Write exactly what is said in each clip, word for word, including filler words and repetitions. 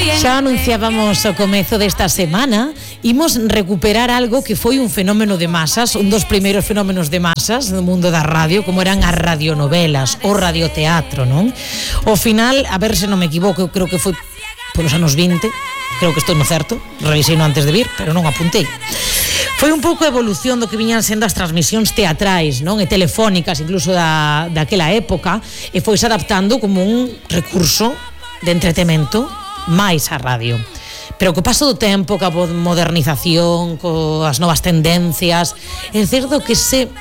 Xa anunciábamos o comezo desta semana, imos recuperar algo que foi un fenómeno de masas, un dos primeiros fenómenos de masas no mundo da radio, como eran as radionovelas, o radioteatro, non? Ao final, a ver se non me equivoco, creo que foi polos anos vinte, creo que estou no certo, revisei no antes de vir, pero non apuntei. Foi un pouco a evolución do que viñan sendo as transmisións teatrais, non? E telefónicas, incluso da, daquela época, e foise adaptando como un recurso de entretemento máis a radio. Pero co paso do tempo, coa modernización, coas novas tendencias, é certo que ese,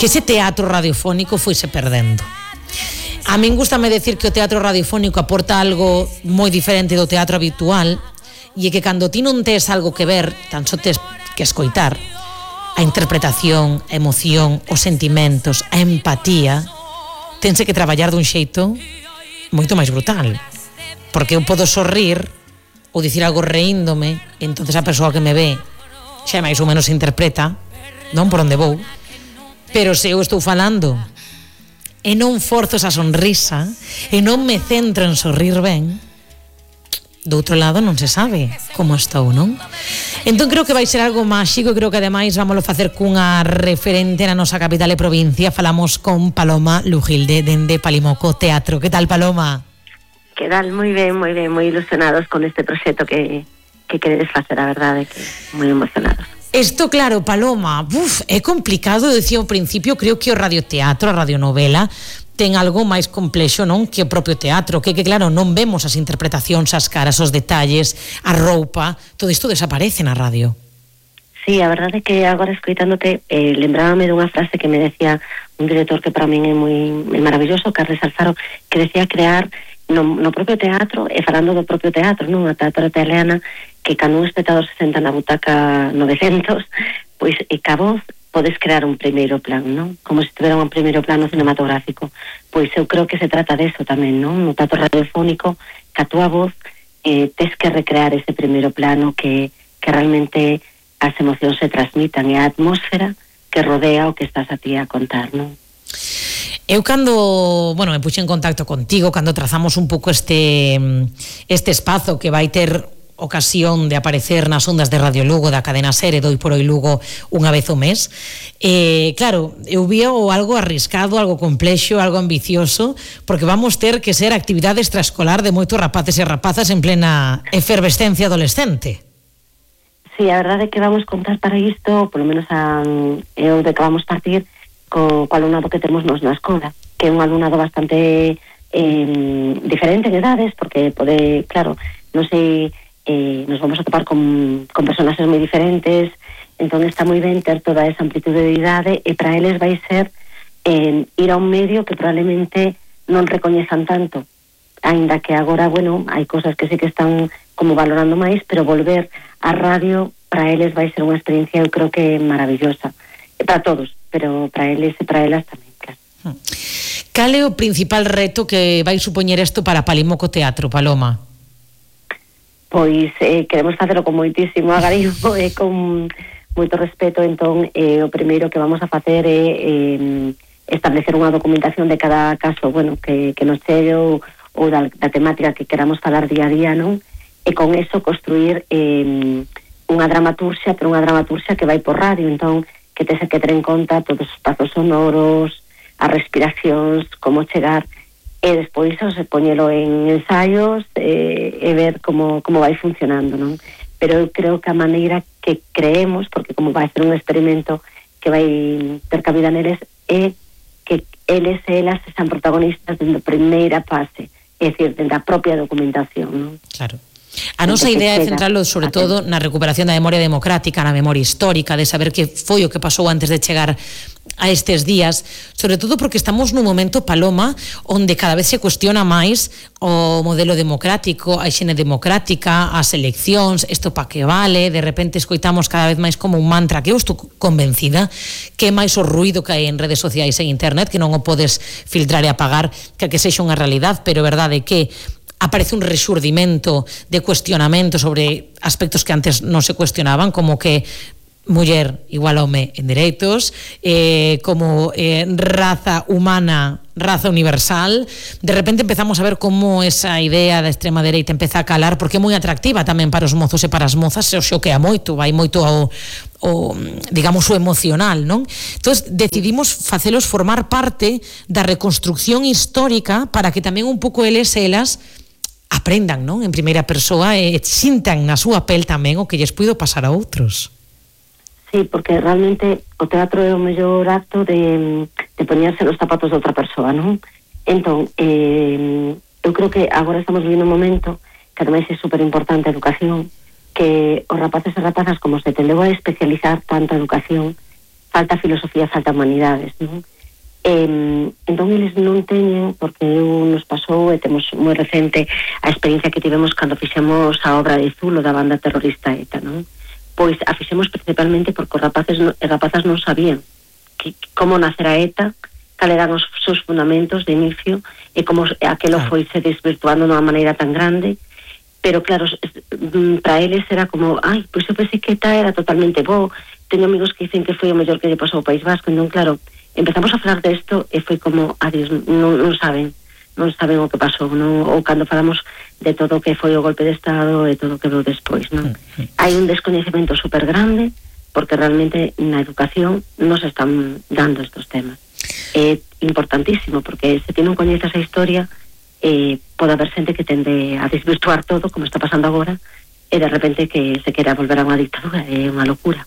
que ese teatro radiofónico foise perdendo. A min gustame decir que o teatro radiofónico aporta algo moi diferente do teatro habitual, e é que cando ti non tes algo que ver, tan só tes que escoitar, a interpretación, a emoción, os sentimentos, a empatía, tense que traballar dun xeito moito máis brutal. Porque eu podo sorrir ou dicir algo reíndome, e entonces a persoa que me ve xa máis ou menos interpreta, non por onde vou, pero se eu estou falando e non forzo esa sonrisa e non me centro en sorrir ben, do outro lado non se sabe como estou, non? Entón creo que vai ser algo máxico, creo que ademais vámoslo facer cunha referente na nosa capital e provincia. Falamos con Paloma Lujilde dende Palimoco Teatro. Que tal, Paloma? Que tal? Moi ben, moi ben, moi ilusionados con este proxecto que, que queredes facer, a verdade, que moi emocionados. Isto, claro, Paloma, uf, é complicado, decía ao principio, creo que o radioteatro, a radionovela, ten algo máis complexo, non? Que o propio teatro, que, que claro, non vemos as interpretacións, as caras, os detalles, a roupa, todo isto desaparece na radio. Sí, a verdade é que agora escoitándote, eh, lembrábame dunha frase que me decía un director que para min é moi é maravilloso, Carles Alfaro, que decía crear no, no propio teatro, e falando do propio teatro, non? A teatro italiana, que cando un espectador se senta na butaca novecentos, pois e ca voz podes crear un primeiro plan, non? Como se tivera un primeiro plano cinematográfico. Pois eu creo que se trata deso tamén, non? No teatro radiofónico, que a túa voz eh, tes que recrear ese primeiro plano, que, que realmente as emocións se transmitan, e a atmósfera que rodea o que estás a ti a contar, non? Eu cando, bueno, me puxe en contacto contigo, cando trazamos un pouco este este espazo que vai ter ocasión de aparecer nas ondas de Radio Lugo da cadena SER, doi por oi Lugo unha vez ao mes, eh, claro, eu vía algo arriscado, algo complexo, algo ambicioso, porque vamos ter que ser actividade extraescolar de moitos rapaces e rapazas en plena efervescencia adolescente. Sí, a verdade é que vamos contar para isto, polo menos a, eu de que vamos partir co, co alumnado que temos nos na escola, que é un alumnado bastante eh, diferente en edades, porque pode, claro, non sei, eh, nos vamos a topar con, con personaxes moi diferentes, entón está moi ben ter toda esa amplitude de idade, e para eles vai ser eh, ir a un medio que probablemente non recoñezan tanto, aínda que agora, bueno, hai cosas que sí que están como valorando máis, pero volver á radio para eles vai ser unha experiencia, eu creo que maravillosa, e para todos, pero para eles e para elas tamén, claro. Cal é o principal reto que vai supoñer isto para Palimoco Teatro, Paloma? Pois eh, queremos facelo con moitísimo agarimo e con moito respeto, entón eh, o primeiro que vamos a facer é eh, establecer unha documentación de cada caso, bueno, que, que nos chegue ou, ou da, da temática que queramos falar día a día, non? E con eso construir eh, unha dramaturxia, pero unha dramaturxia que vai por radio, entón que tese que ter en conta todos os espazos sonoros, as respiracións, como chegar, e despois se poñelo en ensaios e, e ver como, como vai funcionando, non? Pero eu creo que a maneira que creemos, porque como vai ser un experimento que vai ter cabida neles, é que eles e elas sean protagonistas dende a primeira fase, é dicir, dende a propia documentación, non? Claro. A nosa idea é centralo sobre todo na recuperación da memoria democrática, na memoria histórica, de saber que foi o que pasou antes de chegar a estes días, sobre todo porque estamos nun momento, Paloma, onde cada vez se cuestiona máis o modelo democrático, a higiene democrática, as eleccións, isto pa que vale, de repente escoitamos cada vez máis como un mantra, que eu estou convencida que é máis o ruído que hai en redes sociais e internet, que non o podes filtrar e apagar, que que sexa unha realidade, pero verdade que aparece un rexurdimento de cuestionamento sobre aspectos que antes non se cuestionaban, como que muller igual home en dereitos, eh, como eh, raza humana raza universal. De repente empezamos a ver como esa idea da extrema dereita empeza a calar, porque é moi atractiva tamén para os mozos e para as mozas, e o xoquea moito, vai moito ao, o, digamos, o emocional, non? Entón, decidimos facelos formar parte da reconstrucción histórica para que tamén un pouco eles e elas aprendan, non? En primeira persoa e sintan na súa pel tamén o que lles puido pasar a outros. Sí, porque realmente o teatro é o mellor acto de, de poñerse nos zapatos de outra persoa, non? Entón, eh, eu creo que agora estamos vivindo un momento que ademais é super importante a educación, que os rapaces e rapazas, como se tendeu a especializar tanto a educación, falta filosofía, falta humanidades, non? Eh, entón eles non teñen, porque eu nos pasou e temos moi recente a experiencia que tivemos cando fixemos a obra de Zulo da banda terrorista ETA, non? Pois a fixemos principalmente porque os rapaces e rapazas non sabían que, como nacer a ETA, cal eran os seus fundamentos de inicio e como aquelo foi se desvirtuando de unha maneira tan grande, pero claro, para eles era como, ai, pois eu pensei que ETA era totalmente bo, teño amigos que dicen que foi o mellor que lle pasou ao País Vasco, entón claro, empezamos a falar desto e foi como, adiós, non, non saben, non saben o que pasou, non? Ou cando falamos de todo o que foi o golpe de Estado e todo o que veu despois, non? Hai un descoñecemento super grande porque realmente na educación non se están dando estos temas. É importantísimo porque se ti non coñeces a historia eh, pode haber xente que tende a desvirtuar todo como está pasando agora e de repente que se quera volver a unha dictadura, é unha locura.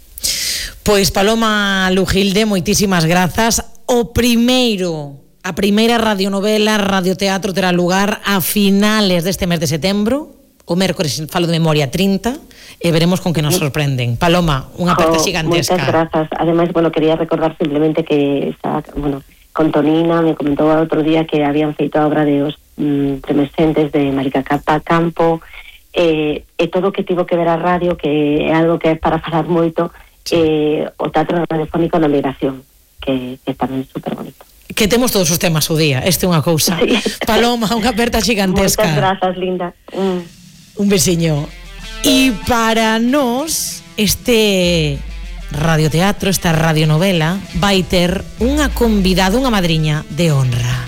Pois Paloma Lujilde, moitísimas grazas. O primeiro A primeira radionovela, radioteatro terá lugar a finales deste mes de setembro, o mércores, falo de memoria, trinta, e veremos con que nos sorprenden. Paloma, unha aperta oh, gigantesca. Moitas grazas. Ademais, bueno, quería recordar simplemente que está, bueno, con Tonina me comentou outro día que habían feito a obra de os mm, tremescentes de Marica Capa Campo, e, e todo o que tivo que ver a radio, que é algo que é para falar moito, sí. eh, o teatro radiofónico na migración, que, que tamén é super bonito. Que temos todos os temas o día, este é unha cousa. Sí. Paloma, unha aperta gigantesca. Moitas grazas, linda. Mm. Un besiño. E para nós, este radioteatro, esta radionovela, vai ter unha convidada, unha madriña de honra.